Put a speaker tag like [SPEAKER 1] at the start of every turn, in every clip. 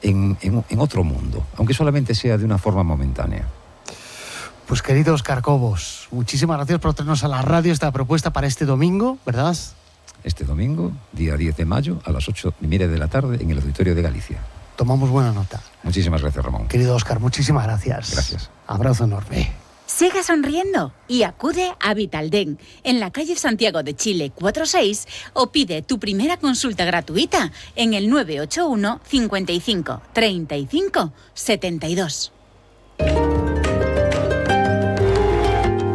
[SPEAKER 1] en otro mundo, aunque solamente sea de una forma momentánea.
[SPEAKER 2] Pues querido Óscar Cobos, muchísimas gracias por traernos a la radio esta propuesta para este domingo, ¿verdad?
[SPEAKER 1] Este domingo, día 10 de mayo, a las 8:30 de la tarde, en el Auditorio de Galicia.
[SPEAKER 2] Tomamos buena nota.
[SPEAKER 1] Muchísimas gracias, Ramón.
[SPEAKER 2] Querido Óscar, muchísimas gracias.
[SPEAKER 1] Gracias.
[SPEAKER 2] Abrazo enorme.
[SPEAKER 3] Siga sonriendo y acude a Vitaldent en la calle Santiago de Chile 46 o pide tu primera consulta gratuita en el 981 55 35 72.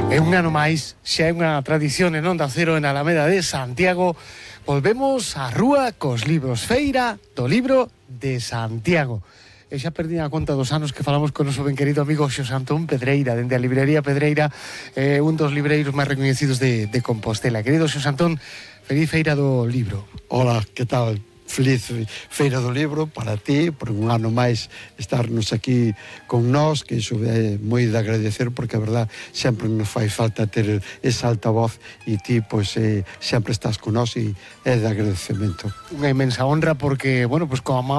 [SPEAKER 2] É un ano máis, xa é unha tradición en Onda Cero en Alameda de Santiago. Volvemos á rúa cos libros, feira do libro de Santiago. E xa perdí a conta dos anos que falamos con o noso ben querido amigo Xosé Antón Pedreira, dende a librería Pedreira, un dos libreiros máis recoñecidos de Compostela. Querido Xosé Antón, feliz feira do libro.
[SPEAKER 4] Hola, que tal? Feliz feira do libro para ti, por un ano máis estarnos aquí con nós, que iso é moi de agradecer, porque a verdad sempre nos fai falta ter esa altavoz e ti, pois, sempre estás con nós e é de agradecemento.
[SPEAKER 2] Unha inmensa honra porque, bueno, pues como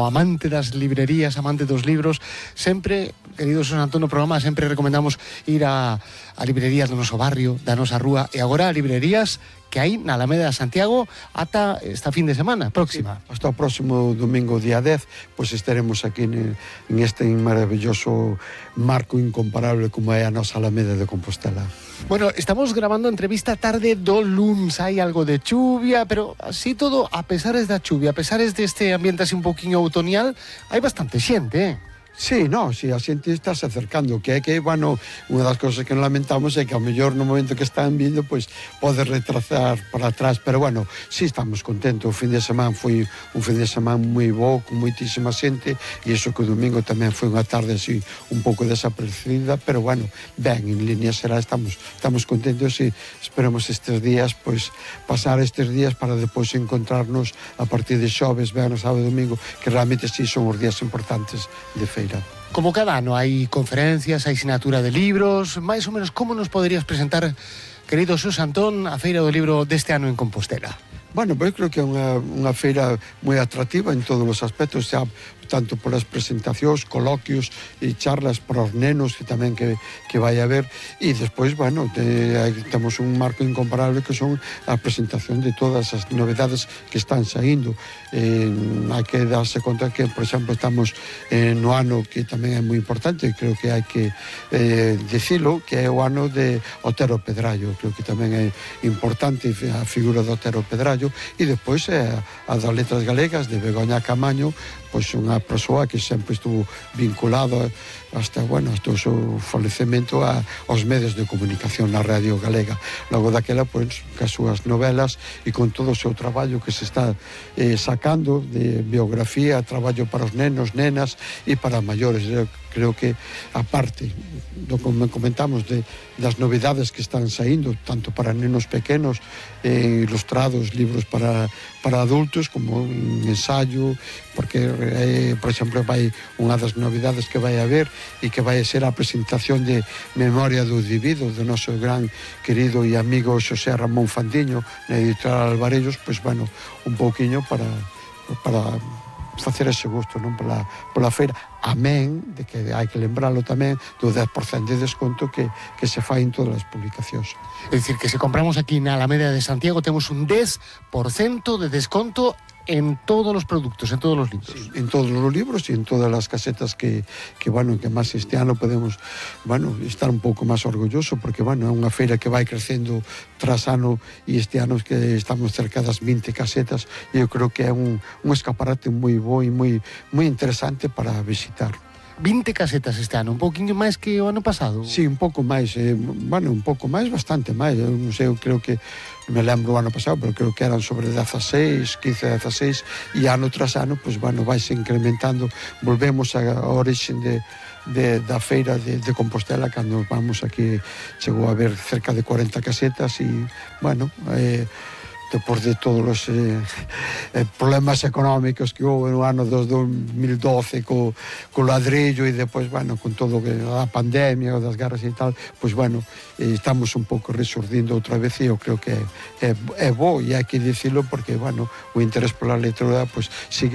[SPEAKER 2] amante das librerías, amante dos libros, sempre, querido Xosé Antón, no programa sempre recomendamos ir a librerías do noso barrio, da nosa rúa, e agora a librerías que hai na Alameda de Santiago ata esta fin de semana próxima.
[SPEAKER 4] Sí, hasta o próximo domingo, día 10, pois estaremos aquí en este maravilloso marco incomparable como é a nosa Alameda de Compostela.
[SPEAKER 2] Bueno, estamos grabando entrevista tarde do luns, hai algo de chuvia, pero así todo, a pesares da chuvia, a pesares deste ambiente así un poquinho outoñal, hai bastante xente,
[SPEAKER 4] Sí, no, sí, a xente está se acercando, que é que, bueno, unha das cousas que non lamentamos é que ao mellor no momento que están vindo, pois pode retrasar para atrás, pero bueno, sí estamos contentos. O fin de semana foi un fin de semana moi bo, con moitísima xente, e iso que o domingo tamén foi unha tarde así un pouco desaparecida, pero bueno, ben, en línea será, estamos contentos e esperamos estes días, pois pasar estes días para depois encontrarnos a partir de xoves, venres, sábado e domingo, que realmente sí son os días importantes de feira.
[SPEAKER 2] Como cada ano hai conferencias, hai sinatura de libros, máis ou menos como nos poderías presentar, querido Xosé Antón, a feira do libro deste ano en Compostela?
[SPEAKER 4] Bueno, pois creo que é unha feira moi atractiva en todos os aspectos, xa tanto polas presentacións, coloquios e charlas para os nenos que tamén que vai haber, e despois, bueno, temos un marco incomparable que son a presentación de todas as novedades que están saindo. Hai que darse conta que, por exemplo, estamos no ano que tamén é moi importante, creo que hai que dicilo, que é o ano de Otero Pedrallo. Creo que tamén é importante a figura de Otero Pedrallo, e despois a das letras galegas de Begoña Camaño, pois unha persoa que sempre estuvo vinculada hasta o seu falecemento aos medios de comunicación na radio galega. Logo daquela, pois, as súas novelas e con todo o seu traballo que se está sacando de biografía, traballo para os nenos, nenas e para maiores. Creo que, aparte do que comentamos das novidades que están saindo, tanto para nenos pequenos, ilustrados, libros para adultos, como un ensayo, porque, por exemplo, vai unha das novidades que vai haber e que vai ser a presentación de Memoria do Divido, do noso gran querido e amigo Xosé Ramón Fandiño, na editorial Alvarellos, pois, bueno, un pouquiño para facer ese gusto, non, pola feira, amén de que hai que lembralo tamén do 10% de desconto que se fai en todas as publicacións.
[SPEAKER 2] É dicir, que se compramos aquí na Alameda de Santiago temos un 10% de desconto en todos os produtos, en todos os libros.
[SPEAKER 4] Sí, en todos os libros e en todas as casetas que máis este ano podemos, estar un pouco máis orgulloso, porque, é unha feira que vai crecendo tras ano, e este ano que estamos cerca das 20 casetas, e eu creo que é un escaparate moi bo e moi interesante para visitar.
[SPEAKER 2] 20 casetas este ano, un pouquinho máis que o ano pasado?
[SPEAKER 4] Sí, un pouco máis, bastante máis, eu non sei, eu creo que me lembro o ano pasado, pero creo que eran sobre 16, 15, 16, e ano tras ano, pois, vaise incrementando. Volvemos a origen da feira de Compostela, cando vamos aquí, chegou a haber cerca de 40 casetas, e, depois de todos os problemas económicos que houve no ano dos 2012 co ladrillo, e depois, con todo a pandemia, das guerras e tal, pois, estamos un pouco resurdindo outra vez, e eu creo que é bo, e hai que dicilo, porque, o interés pola lectura, pois, sigue